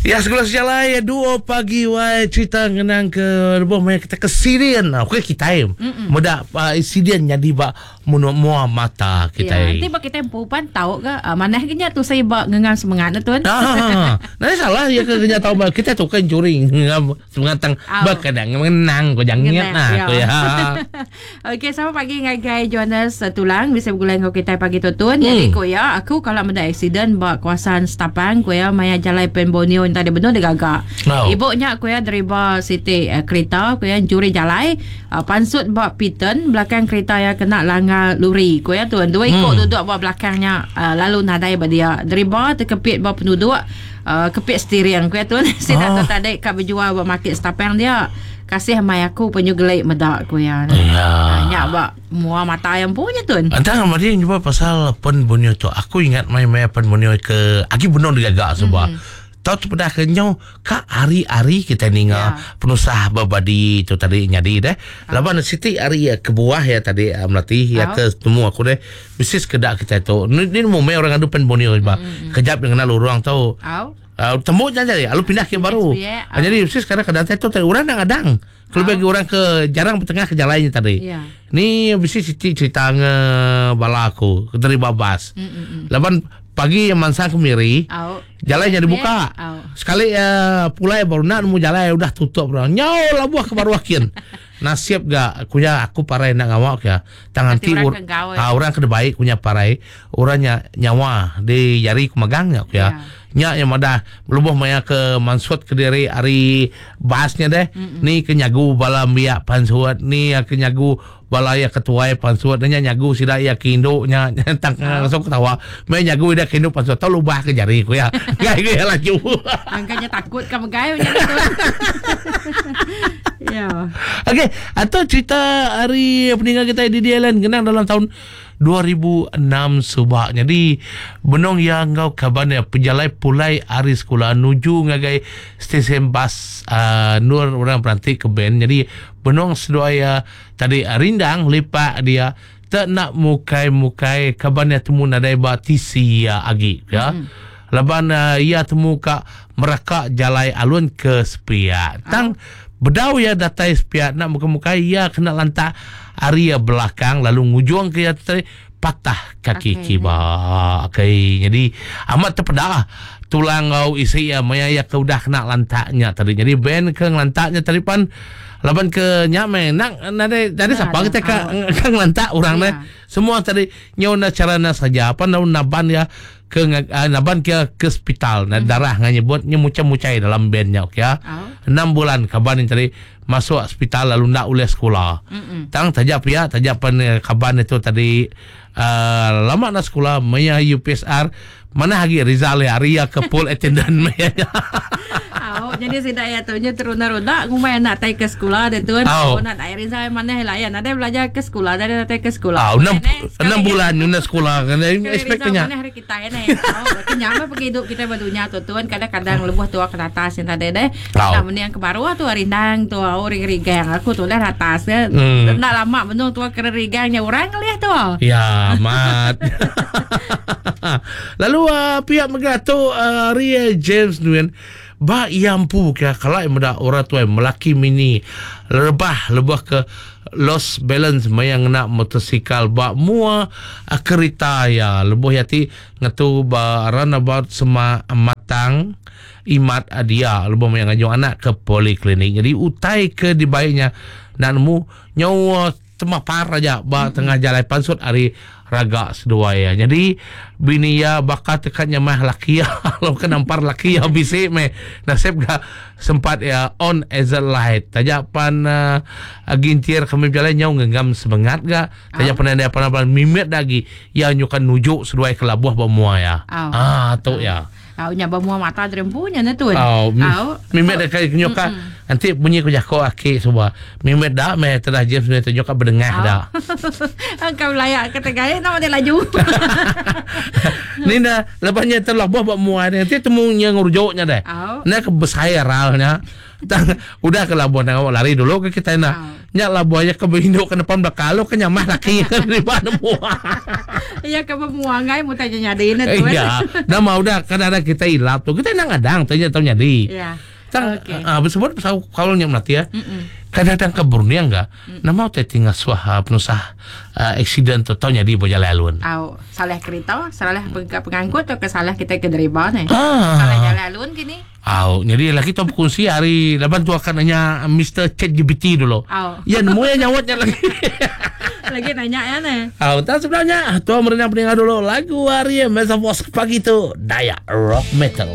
Ya segala sejalai duo pagi wai cerita ngenang ke lebuh maya kita ke sirian. Okey kitai meda insiden nyadi ba Menoa mua mata kitai. Ya, enti ba kitai empu pan tau ga manah ga nya tusai ba ngengang semengat ne tun. Ha. Nadai salah iya ke nya tau ba kitai tu kan curi ngengang semengat tang ba kadang ngenang ko jangit nah ko iya. Okey selamat pagi ngagai Johannes Tulang bisi begulai enggau kitai pagi tu tun. Jadi ko iya aku kala meda accident ba kawasan Stapang ko iya maya jalai Pan Borneo enta benung digaga. Ibu nya ko iya deriba siti kerita ko iya encuri jalai. Pansut ba Piton, belakang kerita iya kena langgar luri, ku iya tun. Dua iku duduk ba belakang nya lalu nadai ba dia. Deriba tekepit ba penuduk kepit steering, ku iya tun. Sida tu tadi ka bejual ba market Stapang dia. Kasih amai aku penyu geli meda, ku iya. Nya ba mua mata iya empu nya tun. Entang madi nyebut pasal Pen Borneo tu, aku ingat maya maya Pen Borneo ke agi benung digaga suba. Tau tepeda ke nyau ka hari-hari kitai ninga penusah bebadi tu tadi nyadi deh. Laban siti ari kebuah iya tadi melati iya ke temu aku deh bisi sekeda kitai tu ni nemu meh orang ngadu Pan Borneo ba. Kejap ngena lurung tu tembu nya jadi lalu pindah ke baru. Jadi bisi sekeda kadang tu orang enda ngadang. Kelebih agi orang ke jarang betengah ke jalai nya tadi. Ni bisi siti cerita nge bala aku ke deriba bas. Laban pagi mansang ke Miri, jalai nya dibuka. Sekali pulai baru enda nemu jalai udah tutup dah. Nyau labuh ke baruh kin. Nasib ga ku iya aku parai enda ngawa ke iya. Tang enti orang ke dibai ku nya parai, orang nya nyawa di jari ku magang nya ku iya. Nya iya madah lebuh maya ke mansut kediri ari bas nya deh ni ke nyagu bala embiak pansut ni iya ke nyagu bala iya ke tuai pansut nya nyagu sida iya ke indu nya tang langsung ketawa meh nyagu ida ke indu pansut tau lubah ke jari ku iya enggai ku iya laju. Angka nya takut ka megai nya tu. Ya. Okey, atau cerita ari peninga kitai di DLN ngenang dalam tahun 2006 suba. Nyadi benung iya enggau kaban iya pejalai pulai ari sekula nuju ngagai stesen bas uhh endur orang beranti ke band. Nyadi benung seduai iya tadi rindang lipak dia te enda mukai-mukai kaban iya temu nadai ba tisi iya agi ya. Laban iya temu ka meraka jalai alun ke sepiak. Tang bedau iya datai sepiak enda mukai-mukai iya kena lantak ari iya belakang lalu ngujung ke iya tadi patah kaki kiba. Okey nyadi amat tepeda tulang enggau isi iya maya iya ke udah kena lantak nya tadi. Nyadi band ke ngelantak nya tadi pan laban ke nya meh endang nadai nadai sapa kitai ka ngelantak orang neh. Semua tadi nyau enda chara enda saja pan naban iya ke naban ke ke hospital na darah ngan nyebut nya muchai-muchai dalam band nya okey ah. Enam bulan kaban nya tadi masuk hospital lalu enda ulih sekula. Tang taja pia taja pen kaban itu tadi uhh lama enda sekula maya UPSR manah agi result iya ari iya ke full attendant maya nya. Au jadi sida iya tu nya terunda-runda ngumbai anak tai ke sekula ditu. Au anak ai result manah ila iya nadai belajar ke sekula nadai datai ke sekula. Au enam bulan nyunda sekula expect ke nya. Manah ari kitai neh. Au nya meh pengidup kitai ba dunya tu tun kadang-kadang lebuh tua ke atas nya tadi deh. Enda mending ke baruh tu rindang tu au rigang aku tu udah atas ke. Enda lama benung tua ke rigang nya orang ngelih tu. Ya amat. Lalu pia mega tu ari James Nguyen ba iya empu ke kala meda orang tuai melaki mini rebah lebuh ke lost balance maya ngena motosikal ba mua kerita iya lebuh iya ti ngetu ba roundabout semak Matang Imat dia lebuh maya ngajung anak ke poliklinik. Jadi utai ke dibai nya enda nemu nyau temapar aja ba tengah jalai pansut ari raga seduai iya. Nyadi bini iya baka teka nyemah laki iya lalu ke nampar laki iya bisi meh nasib ga sempat iya on as a light. Taja pan uhh gintir kami bejalai nyau ngenggam semengat ga taja pan enda pan mimit da agi iya nyuka nuju seduai ke labuh ba mua iya. Aaa tu iya. Au nya ba mua mata diri empu nya ne tun. Au. Au. Mimit da kai nyuka enti munyi ku jako aki suba. Mimit da meh tedah James meh tu nyuka bedengah da. Engka belayak ke tegai nama dia laju. Ni da lepas nya terlabuh ba mua dia enti temu nya ngerujuk nya deh. Enda ke besai ral nya. Tang udah ke labuh nang awak lari dulu ke kitai nah. Au. Nya labuh iya ke berindu ke depan belakang lalu ke nyamah laki ke deriba nemu. Iya ke bemua enggai mutai nya nyadi ne tu. Iya. Nama udah kadang-kadang kitai ilap tu kitai endang ngadang tai nya tau nyadi. Iya. Tang Okey. ah besebut pasal kaul nya melati ah. Kadang-kadang ke berunding ga nama utai ti ngasuh ah, penusah ah, accident tu tau nyadi ba jalai alun. Au, salah kerita, salah pengangkut tauka salah kitai ke deriba ne. Ah. Salah jalai alun kini. Au, nyadi lagi tu bekunsi ari laban tu akan nanya Mister ChatGPT dulu. Au. Ya nemu ya nyawat nya lagi. Lagi nanya ya ne. Au, tang sebenarnya tu merindang peninga dulu lagu ari Metamorph pagi tu Dayak Rock Metal.